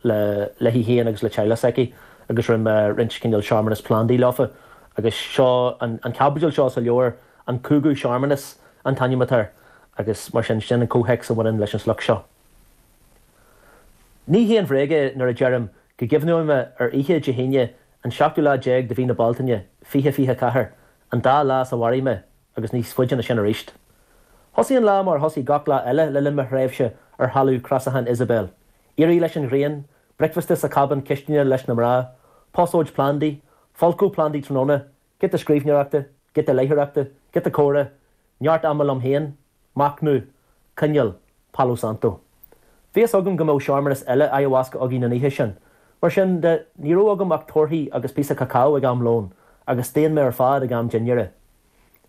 le léi féin agus le teaghlach s'aici agus rinne mé roinnt cineál searmanas plandaí leofa agus seo an chaibidil seo sa leabhar An Cúigiú Searmanas an t-ainm atá air agus mar sin, sin an comhthéacs a bhaineann leis an sliocht seo. Ní haon bhréag é nuair a deirim go gcuimhneoidh mé ar oíche Dé hAoine an seachtú lá déag de mhí na Bealtaine 2024, an dá lá is a mhairfidh mé agus níos faide ná sin arís. Thosaigh an lá mar a thosaigh gach lá eile le linn mo thréimhse ar thalamh crasachán Isabel, éirí leis an ghrian, bricfeasta sa chabán cistine leis na mná, posóid plandaí, folcadh plandaí tráthnóna, giota scríbhneoireachta, giota léitheoireachta, giota comhrá, neart ama liom féin, machnamh, coinneal, Palo Santo. Bhí fhios agam go mbeadh searmanas eile ayahuasca againn an oíche sin. Mar sin de, ní raibh agam ach torthaí agus píosa cacao ag am lóin, agus staon mé ar fad ag am dinnéara.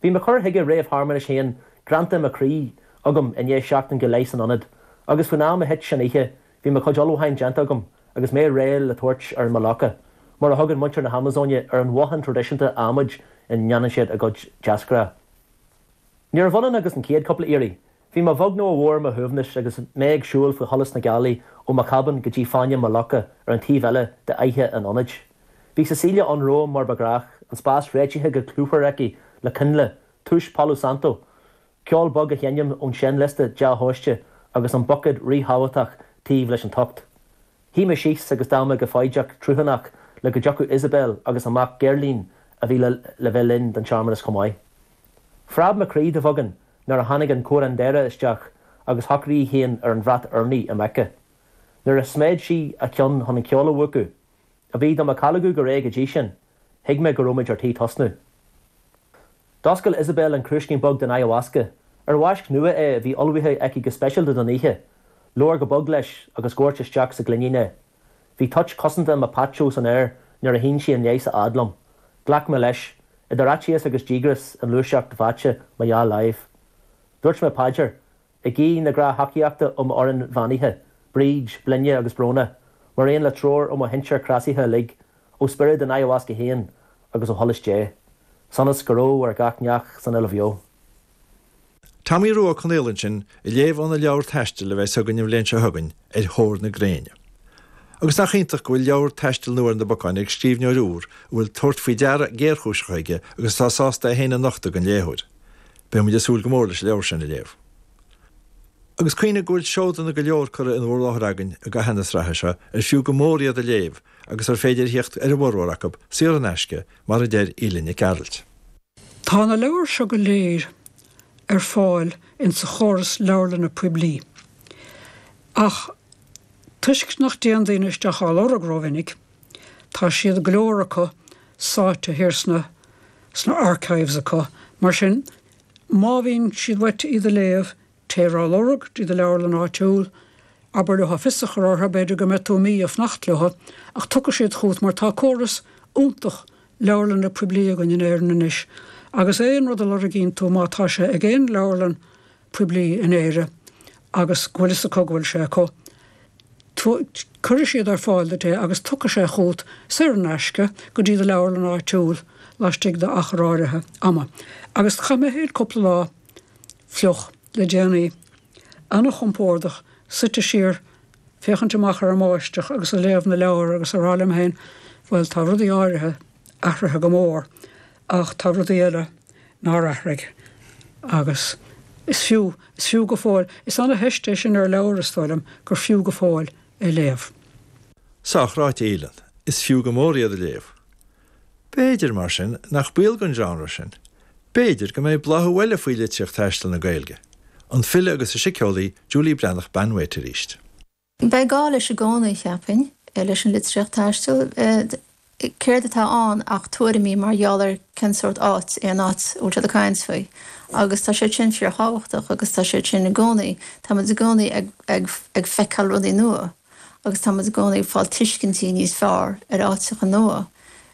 Bhí mo chur chuige réamh-shearmanais féin greanta i mo chroí agam i ndiaidh seachtain go leith san ionad, agus faoin am a thit an oíche bhí mo chuid ullmhúcháin déanta agam agus mé réidh le tabhairt ar an maloca, mar a thugann muintir na hAmazóine ar an bhothán traidisiúnta adhmaid ina ndéanann siad a gcuid deasghnáth. Níorbh ionann agus an chéad chúpla iarraidh, bhí mé a bheag nó a mhór ar mo shuaimhneas agus mé ag siúl faoi sholas na gealaí ó mo chábán go dtí fáinne maloca ar an taobh eile d'fhaiche an ionaid. Bhí Cecilia ann romham mar ba ghnách, an spás réitithe go clúmhar aici le coinnle, túis Palo Santo, ceol bog a sheinm ón seinnliosta dea-thomhaiste agus an buicéad ríthábhachtach taobh leis an tocht. Shuigh mé síos agus d'fhan mé go foighdeach truthánach le go dtiocfadh Isabel agus a mac Gerlin a bhí le bheith linn don searmanas chomh maith. Phreab mo chroí de bheagán nuair a tháinig an curandera isteach agus shocraigh í féin ar an bhrat urnaí im aice. Nuair a sméid sí a ceann chun an ceol a mhúchadh, a bhí do mo chalgadh go réidh go dtí sin, thuig mé go raibh muid ar tí tosnú. D'oscail Isabel an crúiscín beag den ayahuasca, ar mhaisc nua é a bhí ullmhaithe aici go speisialta don oíche. Labhair go bog leis agus dhoirt isteach sa ghloinín é. Bhí toit cosanta mapacho san aer nuair a shín sí an leigheas a fhad liom. Ghlac mé leis, idir fhaitíos agus díograis i ngluaiseacht mheáite mo dhá láimh. Dúirt mé paidir, ag guí na grá-thacaíochta ó m'fhoireann bheannaithe, Bríd, Blinne agus Bróna, mar aon le treoir ó mo shinsir chrasaithe uilig, ó spiorad an ayahuasca féin agus ó sholas Dé. Sonas go raibh ar gach neach san uile bheo. Tomaí Rua Ó Conaola ansin ag léamh óna leabhar taistil a bheas againn an bhliain seo chugainn, Ar Thóir na Gréine. Agus nach iontach go bhfuil leabhar taistil nua ar na bacáin ag scríbhneoir úr a bhfuil tabhairt faoi deara géarchúiseach aige agus atá sásta é féin a nochtadh don léitheoir. Beidh muid ag súil go mór leis an leabhar sin a léamh. Agus cuimhnigh go bhfuil seodanna go leor curtha in bhur láthair againn i gcaitheamh na sraithe seo ar fiú go mór iad a léamh agus ar féidir a theacht ar a bhformhór acu saor in aisce, mar a deir Aoileann Nic Gearailt. Tá na leabhair seo go léir ar fáil insa chóras leabharlanna poiblí, ach toisc nach dtéann daoine isteach á lorg rómhinic, tá siad, go leor acu, sáite thiar sna sna archives acu. Mar sin, má bhíonn siad uait iad a léamh, Téir á lorg dtí do leabharlann áitiúil, abair leo fios a chur orthu, b'fhéidir go mbeidh tú mí ag fanacht leo, ach tiocfaidh siad chugat mar tá córas iontach leabharlanna poiblí againn in Éirinn anois agus aon rud a lorgaíonn tú má tá sé ag aon leabharlann poiblí in Éire agus go bhfuil fhios acu go bhfuil sé acu, cuirfidh siad ar fáil duit é agus tiocfaidh sé chugat saor in aisce go dtí do leabharlann áitiúil laistigh d'achar áirithe ama. Agus chaith mé féin cúpla lá fliuch le déanaí, ana-chompordach, suite siar, féachaint amach ar an mbáisteach agus ag léamh na leabhar agus ag rá liom féin, bhuel, tá rudaí áirithe athraithe go mór ach tá rudaí eile nár athraigh agus is fiú, is fiú go fóill, is ana-theist é sin ar leabhar, is dóigh liom, gur fiú go fóill é léamh. Sách ráite, a Aoileann. Is fiú go mór iad a léamh. B'fhéidir, mar sin, nach baol don genre sin. B'fhéidir go mbeidh bláthú eile faoi litríocht taistil na Gaeilge. An file agus an síceolaí Julie Breathnach Banwait arís. Beidh gá leis i gcónaí, cheapfainn, leis an litríocht taistil. Céard atá ann ach tuairimí mar gheall ar cén sórt áit é an áit a bhfuil siad ag caint faoi. Agus tá siad sin fíorthábhachtach agus tá siad sin i gcónaí, táimid i gcónaí ag, ag, ag feiceáil rudaí nua. agus tá muid i gcónaí ag fáil tuiscintí níos fearr ar áiteacha nua.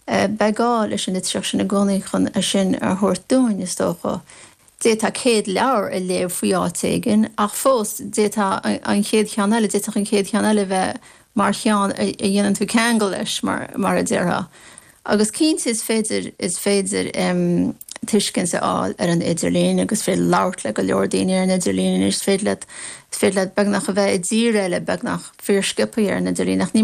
Beidh gá leis an litríocht sin i gcónaí chun é sin a thabhairt dúinn, is dócha. D'fhéadfá 100 leabhar a léamh faoi áit éigin, ach fós, d'fhéadfá an chéad cheann eile, d'fhéadfadh an chéad cheann eile a bheith mar cheann a dhéanann tú ceangal leis, mar a déarfá. Agus cinnte is féidir, is féidir tuiscint a fháil ar an idirlíon agus is féidir labhairt le go leor daoine ar an idirlíon anois, is féidir leat, is féidir leat beagnach a bheith i dtír eile beagnach fíorsciobtha ar an idirlíon ach ní.